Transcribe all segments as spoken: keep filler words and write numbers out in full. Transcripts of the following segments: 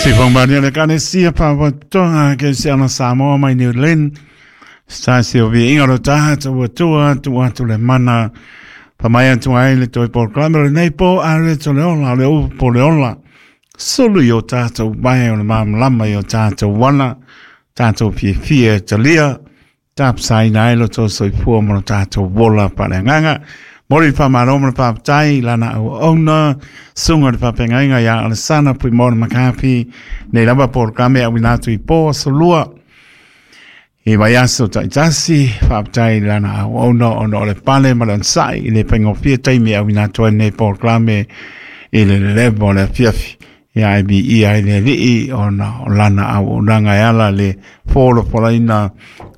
Sifongmania le kanesia pavatonga ke se ana Samoa mai New Zealand. Sa se o vi inga lo taha tua tua tua atu le mana. Pamai atu ai le toi programa le nei po a le to le ola le u po le ola. Sulu i o tātou mai o le mamlama i o tātou wana. Tātou fiefie talia. Tāpsai nai lo tō soifua mo lo tātou wola pa le nganga. Mori pa maro mo le papatai, lana au ona, sunga le papengainga ia Alessana pui mona makapi, nei lava programe au inatu i po solua. I vai aso taitasi, papatai lana au ona, ona o le pale ma le ansai, i le pengofia taimi au inatu ai nei programe i le lelevo le afiafi. Ia I B E ai le lii ona o lana au onanga e ala le fōlo polaina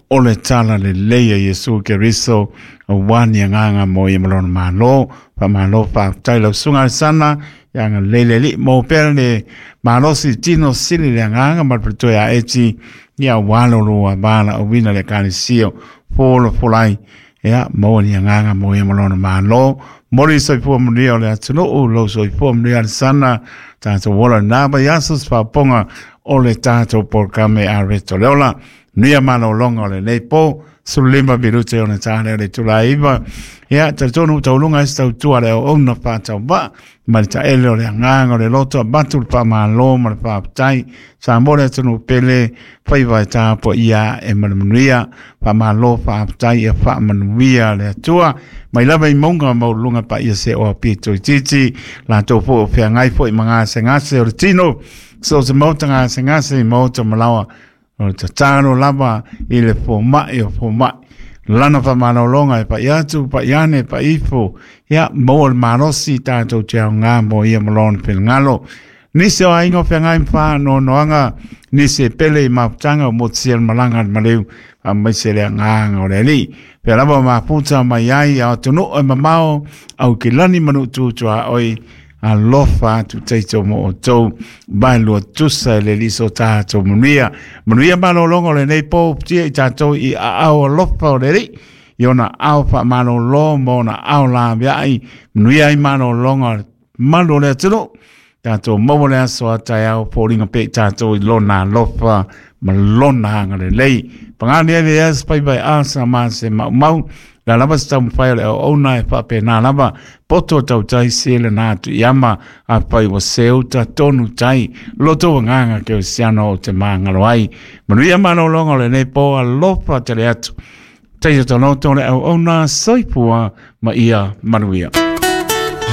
o le tala le leia Yesu Keriso o wani nganga mo ia malona malo pa malo pa tai lau sunga sana ia nga lele li mo pele malosi tino sili le nganga ma preto ia eti ia walo lo bala o wina le kanisio folo folai ia mo ni nganga mo ia malona malo mori soifua manuia o le atunuu lo soifua manuia sana tātou wola nā ba iasus paponga o le tātou programe a reto leola. Nia malo longa o le nei po, sulima minute o le tāne o le tula iwa. Ia, te tonu taulunga e stau tua le o ona whātau wa, ma le taele o le anganga o le loto, batu le whamalo ma le whāpatai, sa more atunu pele, whaiwa e tāpo ia e manamanuia, whamalo whāpatai e whaamanuia le atua, mai lava i maunga maulunga pa ia se o apito i titi, la tō po o whiangai po i mangase ngase o le tino, so se mauta ngase ngase i mauta malawa, o te tāro lava i le fōmai o fōmai. Lana whamanolonga e pa iatu, pa iane, pa ifo. Ia, mō le marosi tātou te au ngā mō ia malona pilngalo. Nisi o aingo whangai mwha no noanga, nisi e pele i maputanga o motsi el malanga al maleu, a maise lea ngānga o le li. Pea lava maputa mai ai a tunu e mamao, au ki lani manu tūtua oi, alofa atu teito mo o tau mai lua tusa le liso tātou manuia. Manuia malolongo le nei pō tia i tātou i a au alofa o le li. I ona au wha malolo mo ona au la viai. Manuia i malolongo malo le atunu. Tātou maua le aso a tai au pōringa pe tātou i lona alofa ma lona hanga le lei. Pangani ele as pai pai asa ma se mau mau. La lava se taumawhai o le au ona e whape nā lava poto tau tai se le nā tu iama a pai wa seuta tonu tai loto wa nganga ke o siano o te māngalo ai. Manuia manolonga o le nei pō alofa te le atu. Teita tonoto le au ona soifua ma ia manuia.